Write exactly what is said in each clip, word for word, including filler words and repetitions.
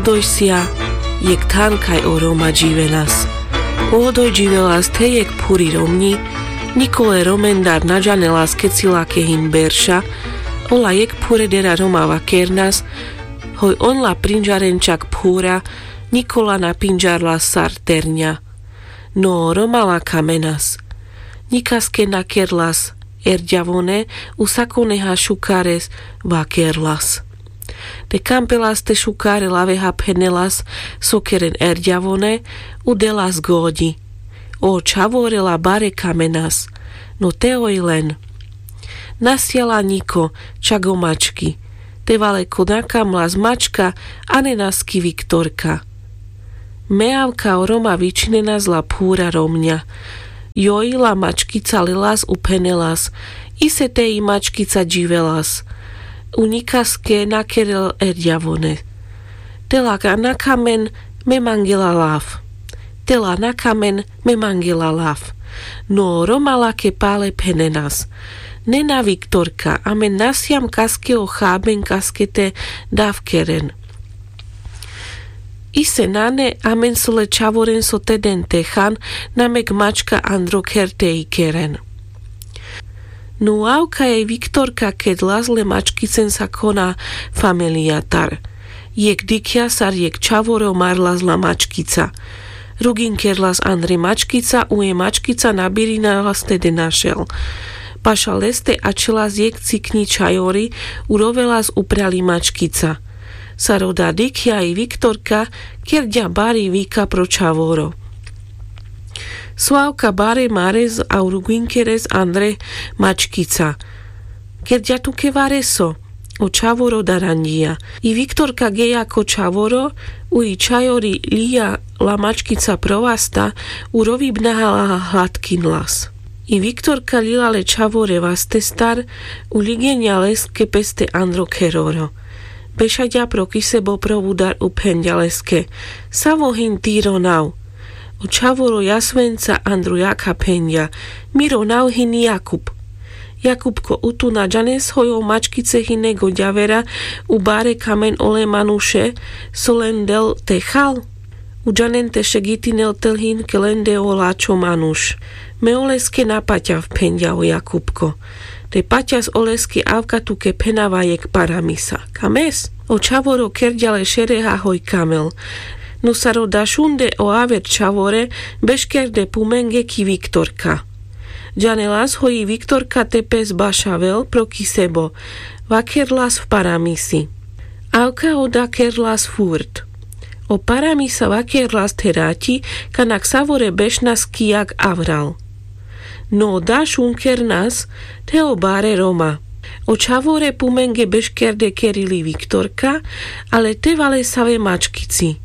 Odojsia jekh than kaj o roma dživenas. Odoj dživelas the jekh phuri romňi. Nikole romendar na džanelas keci lake hin berša. Ola jekh phuredera roma vakernas. Hoj on la prinďaren čak phura. Nikola na pinďarlas sar terňa. No roma la kamenas. Ňikaske na kerlas erďavone. U sakoneha šukares vakerlas. Te kampelas te šukare laveha phenelas so keren erďavone. U delas goďi. O čhavore la bare kamenas. No te oj len. Na siala ňiko čak o mački. Te vale ko na kamlas mačka. Anenas ki viktorka. Me avka o roma vičinenas la phura romňa. Joj la mačkica lelas u phenelas. Ise te i mačkica dživelas. U ňikaske na kerel erďavone. Te la na kamen. Me mangela lav. Te la na kamen. Me mangela lav. No roma lake pale phenenas. Nena viktorka amen na siam kaske o haben kaske te dav keren. Ise nane amen so le čhavoren so te den te han. Na mek mačka andro kher te i keren. No avka e viktorka kedlas le mačkicen sakona familijatar. Jekh dikhja sar jekh čhavoro marlas la mačkica. Ruginkerlas andre mačkica u e mačkica na birinalas te de našel. Paša leste ačhelas jekh cikňi čhajori. U rovelas upral i mačkica. Sar oda dikhja i viktorka kerďa bari vika pro čhavoro. So avka bare mares a u ruginkeres andre mačkica. Kerďa tuke vareso. O čhavoro daranďija. I viktorka geja ko čhavoro. U i čhajori lija la mačkica pro vasta. U rovibnaha la hladkinlas. I viktorka lila le čhavore vastestar. U ligeňa leske peste andro kheroro. Bešaďa pro kisebo pro vudar u phenďa leske. Savo hin ti ronav? O čhavoro jasvenca andro jakha phenďa. Mi ronav hin jakub. Jakubko u tu na džanes hoj o mačkice hine goďavera u bare kamen ole manuše so len del te hal? U džanen te šegitinel te hin ke len de o lačho manuš. Me oleske na paťav phenďa o jakubko. Te paťas oleske avka tuke phenava jekh paramisa. Kames? O čhavoro kerďa le šereha hoj kamel. No sar oda šunde o aver čhavore beškerde pumenge ki viktorka. Džanelas hoj i viktorka te pes bašavel pro kisebo. Vakerlas paramisi. Avka oda kerlas furt. O paramisa vakerlas te raťi kana ksavore bešnas ki jak avral. No oda šunkernas te o bare roma. O čhavore pumenge beškerde kerili viktorka. Ale te valesave mačkici.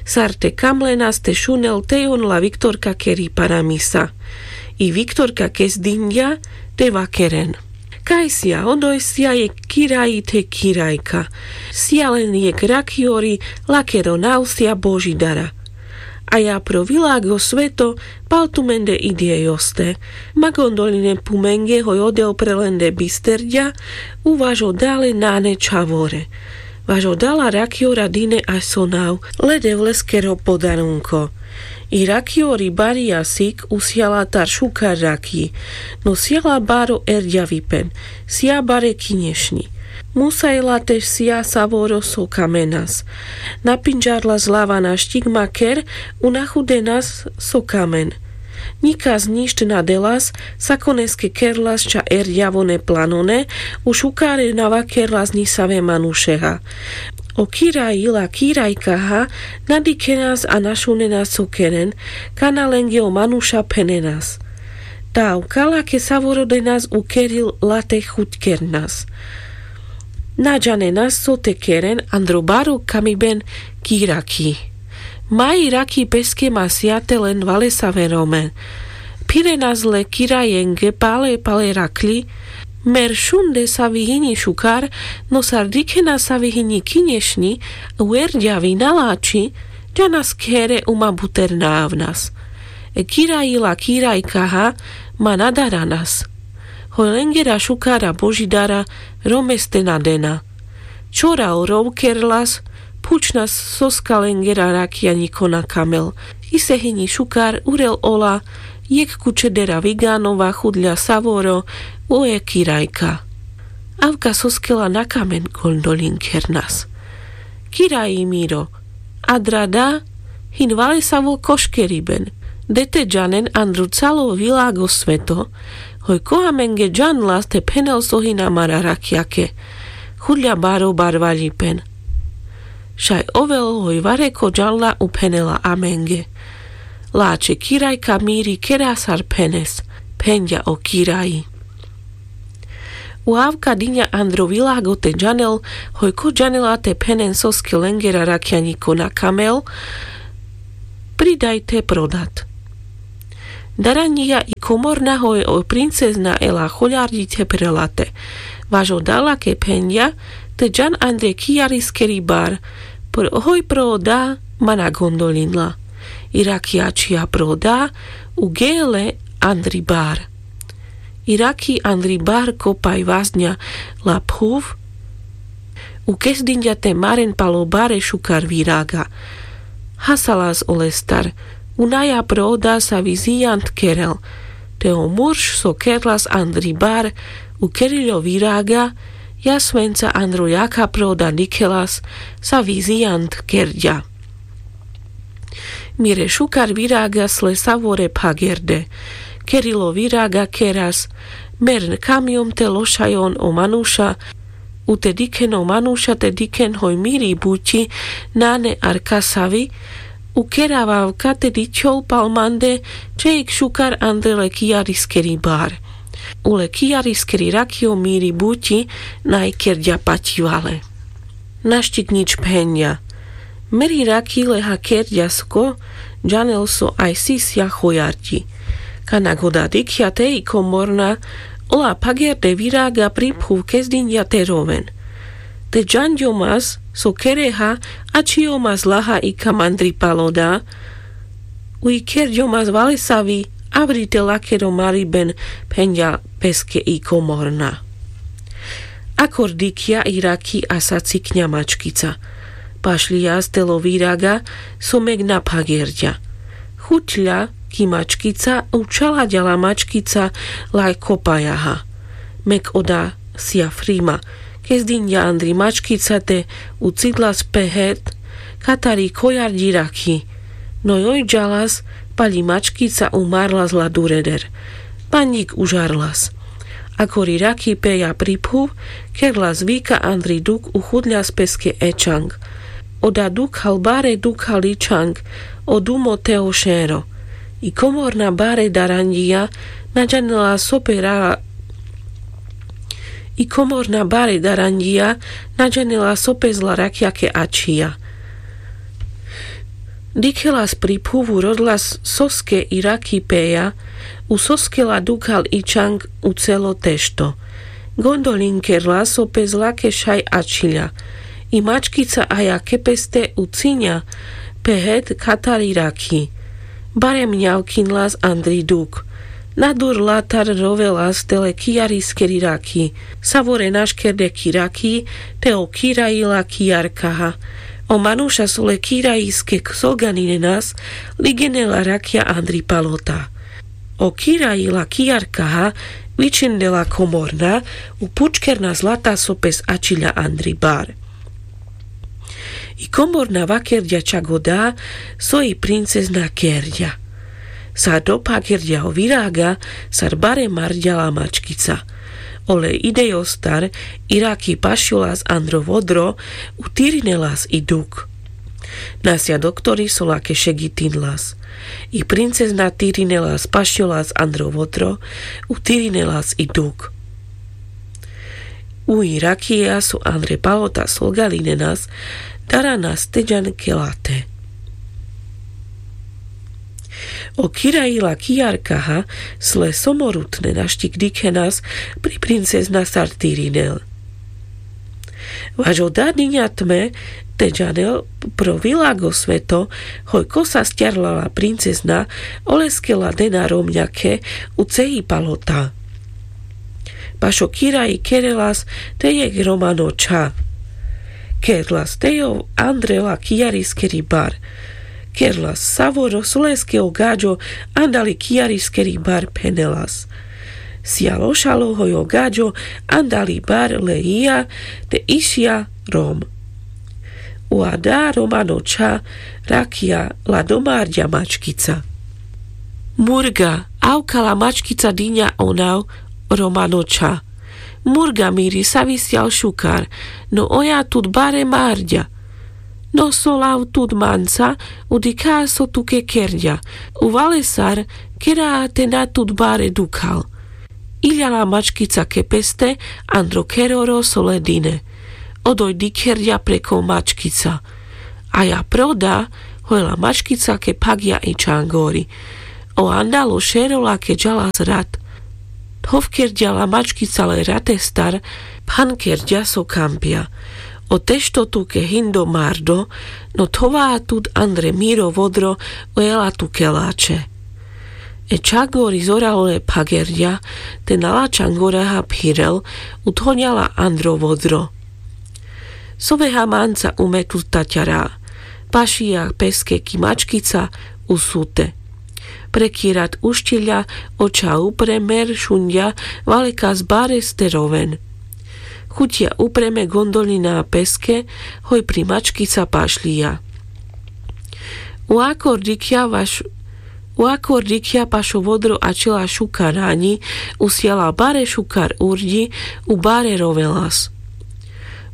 Sar te kamlenas te šunel te on la viktorka keri paramisa. I viktorka kes dinďa te vakeren. Kaj sija? Odoj sija jekh kiraji the kirajka. Sija len jekh rakjori. Lakero nav sija božidara. A ja pro vilago sveto pal tumende idje joste. Magon doline pumenge hoj odel pre lende bisterďa. U vaš oda le nane čhavore. Vaš oda la rakjora dine aj so nav le devleskero podarunko. I rakjori barija sik u sijala tar šukar rakji. No sijala baro erďavipen. Sija bare kinješňi. Musajla te sija savoro so kamenas. Na pinďarlas lava na štigma ker. U na chudenas so kamen. Ňikas ňišt na delas. Sakoneske kerlas ča erďavone planone. U šukare na vakerlas ňisave manušeha. O kiraji la kirajkaha na dikhenas a na šunenas so keren. Kana lenge o manuša phenenas. Tav kala ke savoro denas u keril la te chuďkernas. Na džanenas so te keren andro baro kamiben kirakji. Maji rakji peske masija te len valesave romen. Phirenas le kirajenge pale pale rakľi. Mer šunde savi hiňi šukar. No sar dikhena savi hiňi kinješňi u erďavi na lači. Džanas khere u ma buter na avnas. E kiraji la kirajkaha ma na daranas. Hoj lengera šukara božidara romeste na dena. Čora o rov kerlas. Phučná soska lengera rakiaňiko na kamel. Ise hini šukar urel ola jekh kučedera vigáno vachudľa savoro, uje kirajka. Avka soskela na kamen. Gondoľinker nas: Kiraji miro, adra da hin valesavo koškeriben. De te džanen andro calo világo sveto, hoj ko amenge džanlas te phenel so hina mara rakiake. Chudľa baro barvaľipen. Šaj ovel hoj vareko džanla uphenela amenge. Lačhe kirajka miri kera sar phenes. Phenďa o kiraji: U avka diňa andro világo te džanel, hoj ko džanela te phenen soske lengera rakiaňiko na kamel, pridaj te prodat. Daranďija i komorna hoj o princezna ela choľarďić te prelate. Vaš o da lake phenďa: Te džan andre kijariskeri bar, hoj pro o da ma na gondoľinla. I raki ačhija pro o da, u gele andri bar. I raki andri bar kopaj vazňa la phuv, u kezdinďa te maren pal o bare šukar viraga. Hasalas olestar, u naja pro o da savi zijant kerel. Te o murš so kerlas andri bar, u keriľo viraga, jasvenca andro jaka pro o da dikhelas savi zijant kerďa. Mire šukar viraga sle savore phagerde. Keriľo viraga keras: Mern kamiom te lošajon o manuša, u te dikhen o manuša te dikhen hoj miri buťi, nane ar kasavi, u kera vavka te dičhol pal mande čejk šukar andre le kijariskeri bar. U le kijariskeri raki o miri buťi naj kerďa paťivale. Naštikňič phenďa: Meri raki leha kerďa sko džanel so aj sisľa choľarďi. Kana goda dikhľa te i komorna, ola phagerde viraga pri phuv kezdinďa te roven. Te džanďomas so kereha, ačhijomas laha i kamandri pal o da, u i kerďomas valesavi, avri te lakero mariben. Phenďa peske i komorna. Akor dikhľa i raki a sacikňa mačkica. Pašľijas te lo viraga so mek na phagerďa. Chuťľa ki mačkica, u čhalaďa la mačkica laj kopajaha. Mek o da sija frima. Kezdinďa andri mačkica te u cidlas pehet katari choľarďi raki. No joj džalas, paľi mačkica u marlas la dureder. Paňik u žarlas. Akor i raki peľa pri phuv, kerlas vika andri duk u chuďas peske ečang. O da dukhal bare dukhal ičang, o dumo te o šero. I komorna bare daranďija, na džanela so pe ra i komorna bare daranďija, na džanela so pe zla rakjake ačhija. Dikhelas pri phuv u rodlas soske i raki peľa, u soske la dukhal ičang u celo tešto. Gondoľin kerlas so pe zlake šaj ačhiľa. I mačkica aľa ke peste u ciňa pehet katari raki. Bare mňavkinlas andri duk. Na dur latar rovelas te le kijariskeri raki. Savore naškerde ki raki, te o kiraji la kijarkaha. O manuša so le kirajiske solganinenas, ligene la rakja andri palota. O kiraji la kijarkaha vičhinde la komorna, u pučkerna zlata so pes ačhiľa andri bar. I komorna vakerďa čak o da so i princezna kerďa. Sar dophakerďa o viraga, sar bare marďa la mačkica. Ole idejostar i raki pašľolas andro vodro, u tirinelas i duk. Nasľa doktori so lake šegitinlas. I princezna tirinelas pašľolas andro vodro, u tirinelas i duk. U i rakija so andre palota solgalinenas, daranas te džan kelate. O kiraji la kijarkaha sle somorutne naštik dikhenas pri princezna sar tirinel. Vaš o da diňa tme te džanel pro vilago sveto, hoj ko sasťarla la princezna, oleske la dena romňake u cehi palota. Baš o kiraji kerelas te jekh romano čha. Kerlas te jov andre la kijariskeri bar. Kerlas savoro so leske o gaďo andali kijariskeri bar phenelas. Sijal ošalo hoj o gaďo andali bar le ija te išija rom. U ada romanočha rakija la domarďa mačkica. Murga, avka la mačkica diňa o nav romanočha. Murga miri, savi sijal šukar, no oja tut bare marďa. No so lav tut manca, u dikha so tuke kerďa. U valesar kera te na tut bare dukhal. Iľa la mačkica ke peste andro keroro so le dine. Odoj dikherďa preko mačkica. A ja proda, hoj la mačkica ke phagďa i čangori. O andalo šero lake džalas rat. Thovkerďa la mačkica le ratestar, phankerďa so kampľa. O tešto tuke hindo mardo, no thová tut andre miro vodro, o jela tuke lače. E čangori zoralo le phagerďa, te na la čangoraha phirel, u thoňa la andro vodro. So veha manca u me tut taťara. Pašija peske ki mačkica u sute. Pre ki rat uščilďa, oča upre, mer šunďa, valekas bare ste roven. Chuťa upre me gondoľina peske, hoj pri mačkica pašľija. U akor dikľa vaš U akor dikľa pašo vodro ačela šukar raňi, u sijala bare šukar urďi, u bare rovelas.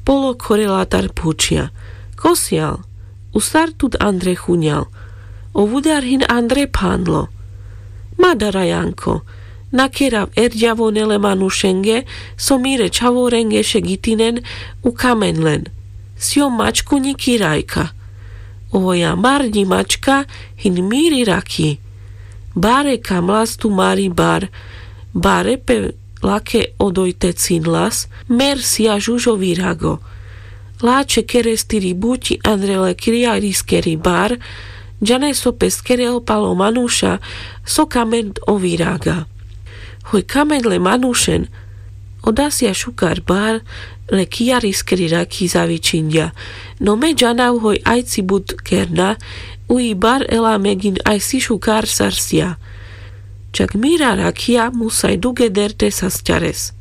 Polo khorela tar phučľa: Ko sijal? U sar tut andre chuňal? O vudar hin andre phandlo. Ma dara, Janko, na kerav erďavone le manušenge, so mire čhavorenge šegitinen u kamen len. Sijom mačkuňi Kirajka. Ovoja marďi mačka hin miri rakhi. Bare kamlas tu mari bar, bare pe lake odoj te cinlas, mer sija žužo virago. Lače kerestiri buťi andre le kijariskeri bar, džane so pes kerel palo manuša, so kamen o viraga. Hoj kamen le manušen, oda sija šukar bar le kijariskeri rakhi zavičinďa, no me džanav hoj ajci but kerna, u i bar ela megin ajsi šukar sar sija. Čak mira rakhija musaj dugeder te sasťares.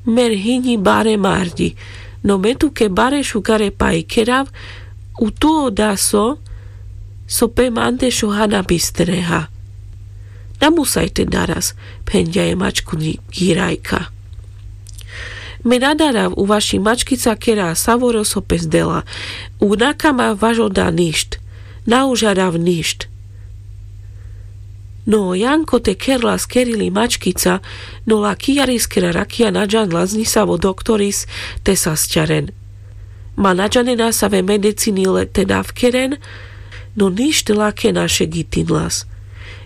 Mer hiňi bare marďi, no me tuke bare šukare pali kerav, u tu oda so, so pe mande šoha na bistreha. Na musaj te daras, phenďa e mačkuňi Kirajka. Me na darav, u vaši mačkica kera savoro so pes dela, u na kamav vaš oda ništ, na užarav ništ. No Janko te kerlas kerili mačkica, no la kijariskera rakhija na džanlas ni savo doktoris te sasťaren. Ma na džanena save medicini le te dav keren, no ništ lake na šegitinlas.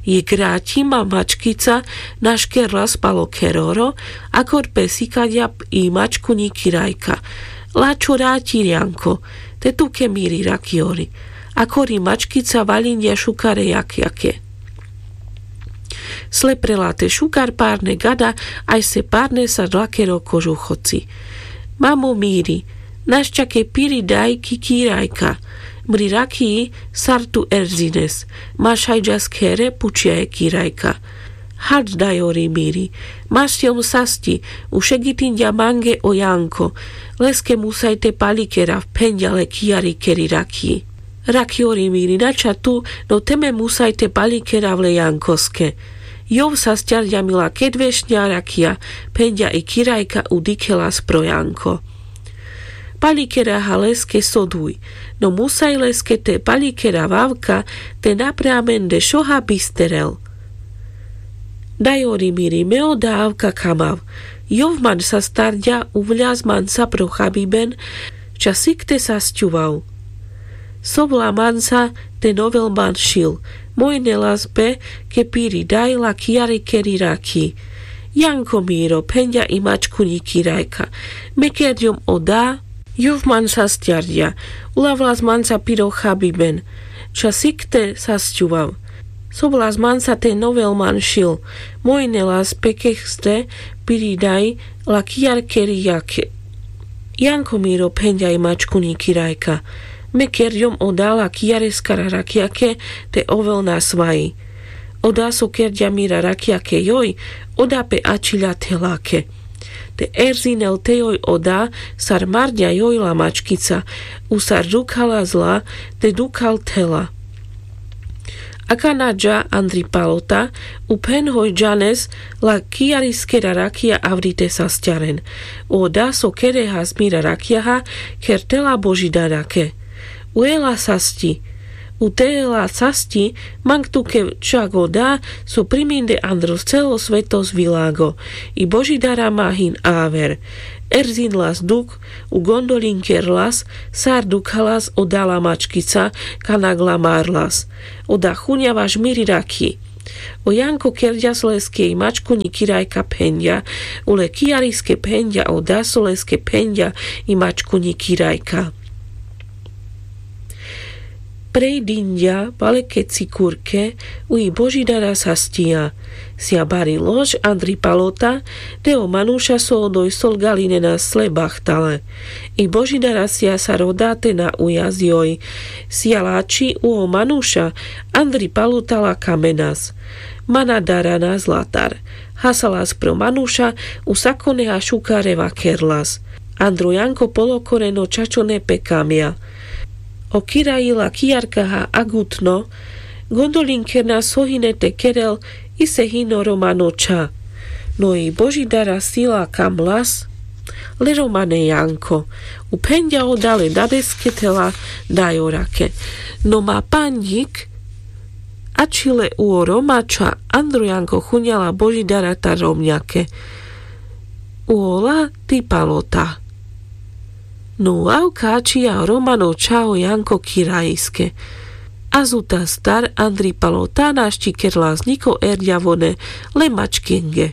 Jekh raťi ma mačkica naš kerlas palo keroro, akor pes ikaďa i mačkuňi Kirajka: Lačo raťi, Janko, te tuke miri rakjori. Akori mačkica vaľinďa šukare jakjake. Sle prela te šukar parne gada, ajse parne sar lakero kožuchoci. Mamo miri, našťa ke piri daj ki Kirajka. Mri rakhi sar tu erzines. Ma šaj džas khere, pučľa e Kirajka. Hač, dajori miri, ma sijom sasťi, u šegitinďa mange o Janko, leske musaj te pali kerav, phenďa le kijarikeri rakhi. Rakjori miri, na ča tu, no te me musaj te pali kerav le Jankoske. Jov sasťarďa mi la kedvešňa rakhija, phenďa i Kirajka, u dikhelas pro Janko. Pali keraha leske so duj, no musaj leske te pali kerav avka, te na pre amende šoha bisterel. Dajori miri, me oda avka kamav. Jov man sastarďa, uvľas manca pro chabiben, ča sik te sasťuvav. Sovla manca te novel man šil, mojnelas pe ke piri daj la kijarikeri rakhi. Janko miro, phenďa i mačkuňi Kirajka, me kerďom oda. Jov man sasťarďa, ulavlas manca piro chabiben, ča sik te sasťuvav. Sovlas manca te novel man šil, mojnelas pe ke ste piri daj la kijarikeri rakhi. Janko miro, phenďa i mačkuňi kirajka, me kerďom oda la kijareskara rakjake te ovel nasvaji. Oda so kerďa mira rakjake joj, oda pe ačhiľa thelake. Te erzinel te joj oda sar marňa joj la mačkica, u sar dukhala zla te dukhal thela. Akana dža Andri Palota, u phen hoj džanes la kijariskera rakja avri te sasťaren. Oda so kere has mira rakjaha, kher thela Božidarake. Ue la sasťi. U te la sasťi, mang tuke čak oda so priminde andro celo svetos vilago. I Božidara ma hin aver. Erzinlas dukh, u gondoľinkerelas sar dukhalas oda la mačkica, kana gla marlas. Oda chudňa vaš miri rakji. O Janko kerďas leske i mačkuňi kirajka phenďa, ule kijariske phenďa oda so leske phenďa i mačkuňi kirajka. Prej dinďa, bale ke cikurke, u i Božidara sasťija. Sija bari lož Andri Palota, te o manuša so odoj solgaľine na sle bachtale. I Božidara sija sar oda te na ujazjoj. Sija lači u o manuša, Andri Palota la kamenas. Mana darana zlatar. Hasalas pro manuša, u sakoneha šukare vakerlas. Andro Janko polokoreno čačone pe kamja. O kiraji la kijarkaha agutno, gondoľinkerna so hine te kerel, ise hino romano čha. No i Božidara sila kamlas, le romane Janko. U phenďa oda le dadeske thela dajorake. No ma panďik, ačhile u o roma čha, Andro Janko chudňa la Božidara tar romňake. U ola ti Palota. No avka ačhija romano čha o Janko kirajiske. Azutastar Andri Palota našti kerlas ňiko erďavone le mačkenge.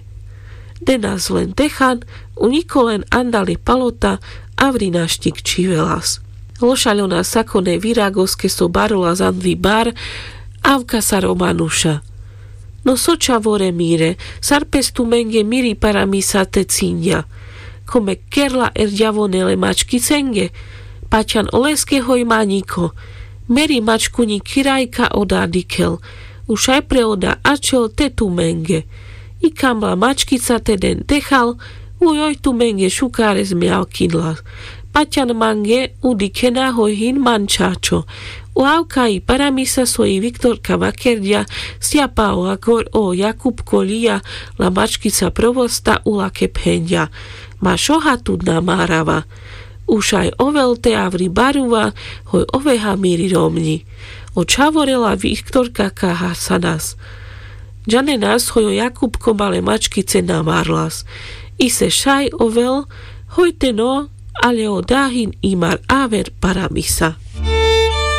Denas len dechan, u ňiko len Andali Palota avri našti kčhivelas. Lošaľona sakone viragoske so barolas Andri bar, avka sar o manuša. No so čhavore mire, sar pes tumenge miri paramisa te cinďa. Kome kerla erďavone le mačkicenge, paťan oleske hoj ma ňiko. Meri mačkuňi kirajka oda dikhel. U šaj pre oda ačhel te tumenge. I kam la mačkica te den dechal, u joj tumenge šukares mjakinla. Paťan mange u dikhena hoj hin man čačo. U avka i paramisa so i Viktorka vakerďa, sja pa o agor o Jakupko lija la mačkica provosta u lake phenďa. Ma šoha tut na marava. U šaj ovel te avri baruva, hoj oveha miri romňi. O čhavore la Viktorka ka hasanas. Džanenas hoj o Jakupko ma le mačkice na marlas. Ise šaj ovel, hoj te no, ale oda hin i mar aver paramisa.